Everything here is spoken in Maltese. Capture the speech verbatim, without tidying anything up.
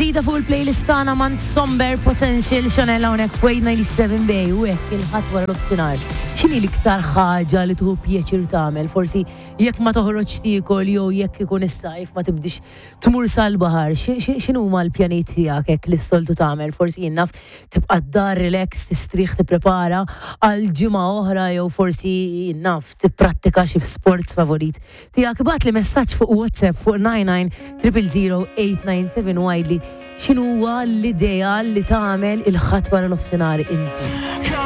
Ġdida fuq il-playlist tagħna mant Somber Potential Chanel hawnhekk fuq eight ninety-seven Bay u hekk il-Ħadd wara nofsinhar. X'inhi l-iktar ħaġa li tieħu pjaċir tagħmel? Forsi jekk ma toħroġ tiekol jew jekk ikun is-sajf ma tibdix tmur sal-baħar. X'inhuma l-pjanijiet tiegħek hekk li s-soltu tagħmel? Forsi jien naf, tibqa' d-dar relax, tistrieħ, tipprepara għal ġimgħa oħra jew forsi, jien naf, tipprattika xi sports favorit tiegħek. Ibgħatli messaġġ fuq WhatsApp fuq nine nine triple zero eight nine seven u għidli x'inhuwa l-ideal li tagħmel il-Ħadd wara nofsinhar inti.